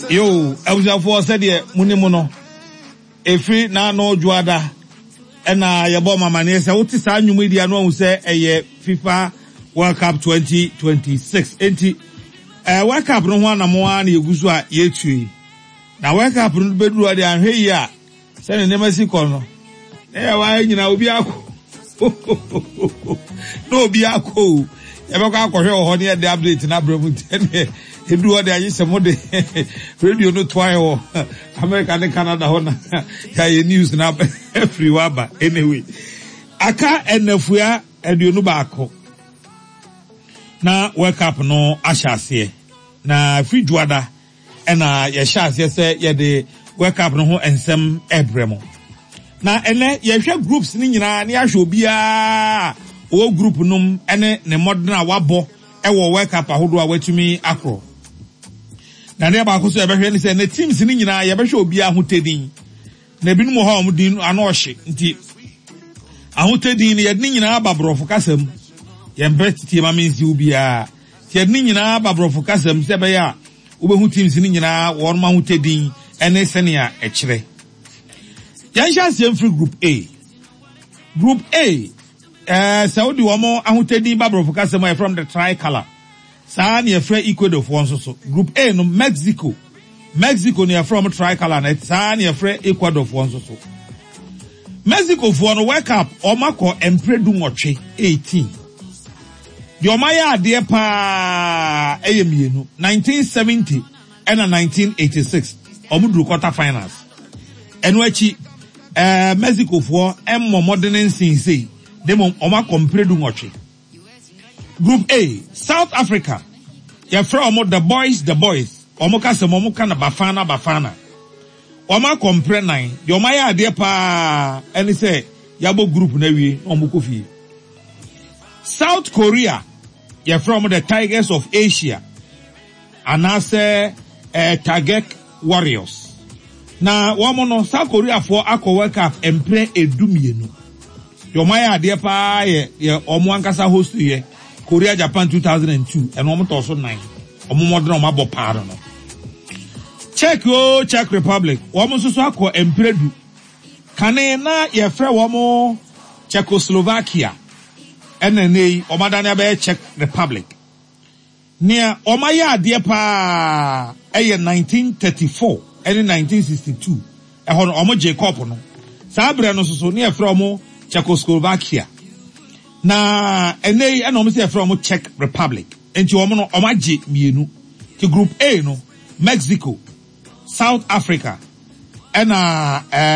Yo, abusuafoɔ sɛdeɛ mo nim no, ɛfiri n'ano dwoada ɛna yɛbɔ mo amaneɛ sɛ wote saa nnwom yi deɛ no ahu sɛ ɛyɛ FIFA World Cup 2026. Enti, eh, World Cup no ho anamo ara na yɛgu so a yɛretu yi. Na World Cup no bɛduru hɔ deɛ anhwɛ yie a, Sɛnea nneɛma si kɔ no, na yɛwɔ ha nyinaa obi akɔ na obi akɔ o. Yɛbɛkɔ akɔhwɛ wɔ hɔ ne yɛde update no abrɛ mu nti ɛneɛ ɛdu hɔ de agye sɛ mode radio no toa yɛ wɔ America ne Canada hɔ na yɛayɛ news no afiri hɔ aba. Anyway, aka nnafua 21 na World Cup no ahyɛ aseɛ na firi dwoada Ɛna yɛhyɛ aseɛ sɛ yɛde World Cup no ho nsɛm rebrɛ mo. Na ɛnɛ yɛhwɛ groups no nyinaa na yɛahwɛ obiara a ɔwɔ group no mu ne ne mmɔden a wabɔ wɔ World Cup ahodoɔ a watumi akorɔ. Na adeɛ baako nso yɛbɛhwɛ ne sɛ ne teams no nyinaa yɛbɛhwɛ obiara ho tedin. Na ebinom wɔ hɔ a wɔn din ano ɔhye nti ahotɛ din no yɛde ne nyinaa ba borɔfo kasa mu. Yɛmpɛ tie ma mensiw biara. Nti yɛde ne nyinaa ba borɔfo kasa mu sɛ ɛbɛyɛ a wobɛhu teams no nyinaa wɔn ahotɛ din ne sɛnea ɛkyerɛ. Yɛnhyɛ aseɛ mfiri group A. Group A, eh, sɛ wode wɔn ahotɛ din ba borɔfo kasa mu a yɛfrɛ wɔn the tricolour. Saa ara na yɛfrɛ Ecuadorfoɔ nso so. Group A no, Mexico. Mexico na yɛfrɛ wɔn tricolour no, saa ara na yɛfrɛ Ecuadorfoɔ nso so. Mexicofoɔ no, World Cup, wɔn akɔ mprɛ 18, 18. Deɛ wɔn ayɛ adeɛ paa yɛ mmienu, 1970 ɛna 1986, wɔn duru quarter finals. Ɛno akyi, ɛɛ Mexicofoɔ mmɔ mmɔden nsen sei, na mmom wɔn akɔ mprɛ 18. Group A, South Africa, yɛfrɛ wɔn The Boys The Boys, wɔn kasa mu wɔn ka no Bafana Bafana. Wɔn akɔ mprɛ nan, deɛ wɔn ayɛ adeɛ paa ɛne sɛ yɛabɔ group no awie na wɔn kɔ fie. South Korea, yɛfrɛ wɔn The Tigers of Asia. Anaasɛ eh, Tagek Warriors. Na wɔn no, South Koreafoɔ akɔ World Cup mprɛ 12. Deɛ wɔn ayɛ adeɛ paa yɛ deɛ wɔn ankasa host yɛ, Korea Japan 2002, ɛno wɔn tɔɔ so nan. Wɔn mmɔden a wɔn abɔ paa no no. Czech o Czech Republic, wɔn nso so akɔ mprɛ 10. Kane na yɛfrɛ wɔn Czechoslovakia, ɛna nnɛ yi wɔn adane abɛyɛ Czech Republic. Nea wɔayɛ adeɛ paa yɛ 1934 ne 1962, ɛhɔ no wɔgyee kɔɔpo no. Saa berɛ no nso so na yɛfrɛ wɔn Czechoslovakia. Na ɛnnɛ yi ɛna wɔn sɛ yɛfrɛ wɔn Czech Republic. Nti wɔn no wɔagye mmienu. Nti Group A no, Mexico, South Africa ɛna ɛɛ.